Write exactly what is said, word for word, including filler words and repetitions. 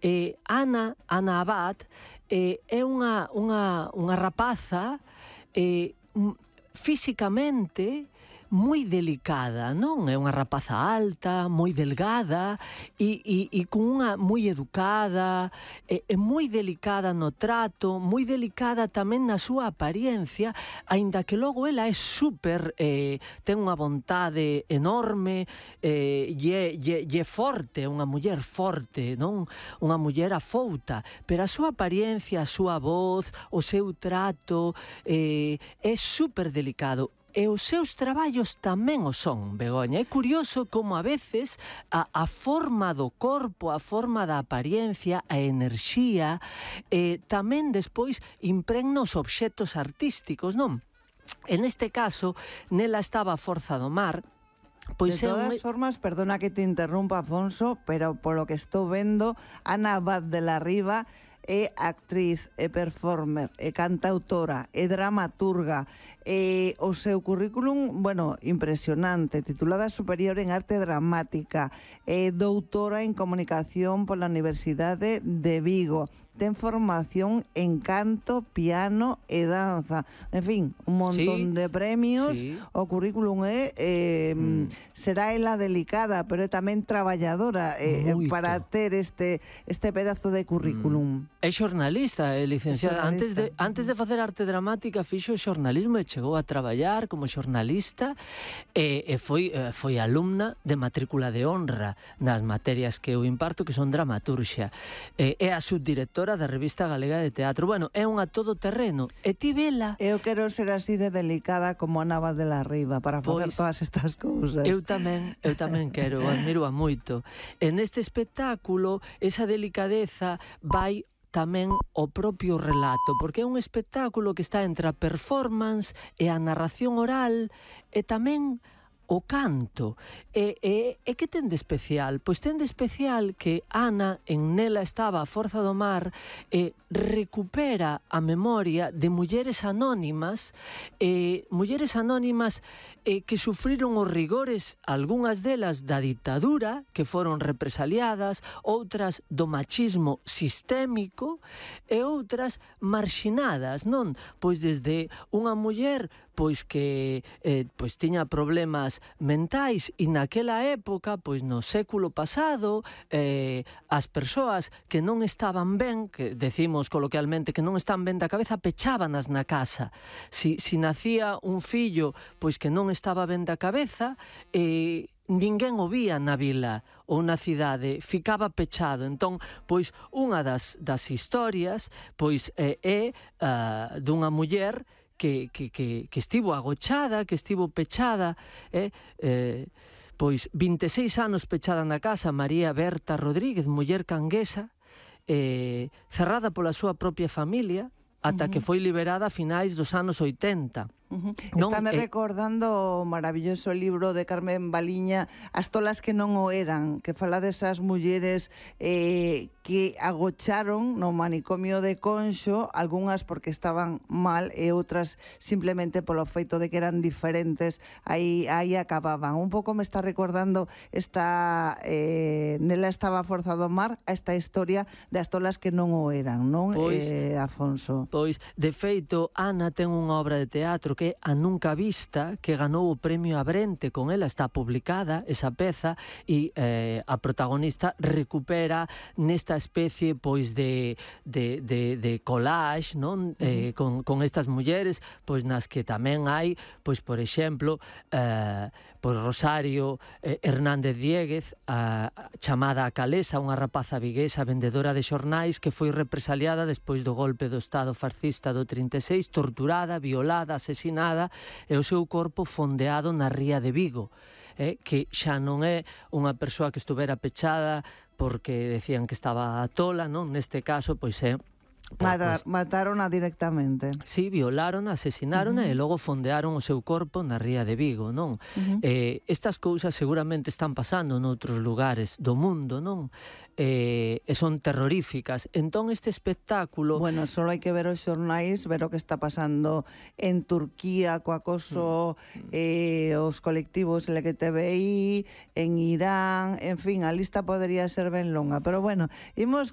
Eh, Ana, Ana Abad, eh, é unha, unha, unha rapaza eh, físicamente moi delicada, non? É unha rapaza alta, moi delgada e, e, e con unha moi educada, é, é moi delicada no trato, moi delicada tamén na súa apariencia, aínda que logo ela é super, eh, ten unha vontade enorme, eh, e, é, e, e é forte, é unha muller forte, non? Unha muller afouta, pero a súa apariencia, a súa voz, o seu trato, eh, é super delicado. E os seus traballos tamén o son, Begoña. É curioso como a veces a, a forma do corpo, a forma da apariencia, a enerxía, eh, tamén despois impregna os obxectos artísticos, non? En este caso, nela estaba a Forza do Mar. Pois de todas un... formas, perdona que te interrumpa, Afonso, pero polo que estou vendo, Ana Abad de la Riva é actriz, é performer, é cantautora, é dramaturga, e o seu currículum, bueno, impresionante, titulada superior en arte dramática, é doutora en comunicación pola Universidade de Vigo, ten formación en canto, piano e danza. En fin, un montón sí, de premios. Sí. O currículum é, eh, mm. será ela delicada, pero é tamén traballadora eh, para ter este este pedazo de currículum. Mm. É xornalista, é licenciada. É xornalista. Antes de antes de facer arte dramática fixo xornalismo e chegou a traballar como xornalista e, e foi e foi alumna de matrícula de honra nas materias que eu imparto, que son dramaturxia. E, é a subdirectora da Revista Galega de Teatro. Bueno, é unha todoterreno. E ti vela... Eu quero ser así de delicada como Ana Abad de la Riva para facer pois, todas estas cousas. Eu tamén, eu tamén quero, admiro a moito. En este espectáculo, esa delicadeza vai tamén o propio relato, porque é un espectáculo que está entre a performance e a narración oral e tamén o canto. E, e, e que ten de especial? Pois ten de especial que Ana, en Nela estaba a Forza do Mar, e recupera a memoria de mulleres anónimas, e mulleres anónimas e que sufriron os rigores, algunhas delas da ditadura, que foron represaliadas, outras do machismo sistémico e outras marxinadas, non? Pois desde unha muller pois que eh, pois tiña problemas mentais e naquela época, pois no século pasado, eh, as persoas que non estaban ben, que decimos coloquialmente que non están ben da cabeza, pechábanas na casa. Si, si nacía un fillo pois que non estaba ben da cabeza, e eh, ninguén o vía na vila ou na cidade, ficaba pechado. Entón, pois unha das, das historias pois é, é uh, dunha muller Que, que, que, que estivo agochada, que estivo pechada, eh, eh, pois vinte e seis anos pechada na casa, María Berta Rodríguez, muller canguesa, eh, cerrada pola súa propia familia, ata uh-huh. que foi liberada a finais dos anos oitenta. Uh-huh. Estáme eh, recordando o maravilloso libro de Carmen Baliña, As tolas que non o eran, que fala desas mulleres eh, que agocharon no manicomio de Conxo, algunhas porque estaban mal e outras simplemente polo feito de que eran diferentes, aí, aí acababan. Un pouco me está recordando esta eh, Nela estaba a Forza do Mar, a esta historia das tolas que non o eran, non, pois, eh, Afonso? Pois, de feito, Ana ten unha obra de teatro que é A Nunca Vista, que ganou o premio Abrente, con ela está publicada esa peza, e eh, a protagonista recupera nesta especie pois de, de, de, de collage, non? Uh-huh. eh, con, con estas mulleres, pois nas que tamén hai, pois por exemplo, eh, pois Rosario eh, Hernández Dieguez, a, a chamada a Calesa, unha rapaza viguesa vendedora de xornais que foi represaliada despois do golpe do Estado fascista do trinta e seis, torturada, violada, asesinada, e o seu corpo fondeado na ría de Vigo, eh, que xa non é unha persoa que estuvera pechada porque decían que estaba tola, non? Neste caso, pois é Matar, pues, matarona directamente. Sí, violaron, asesinaron uh-huh. e logo fondearon o seu corpo na ría de Vigo, non? Uh-huh. Eh, estas cousas seguramente están pasando noutros lugares do mundo, non? Eh, e son terroríficas. Entón este espectáculo... Bueno, só hai que ver os xornais, ver o que está pasando en Turquía co acoso, uh-huh. eh, os colectivos L G T B I, en Irán, en fin, a lista podería ser ben longa, pero bueno, imos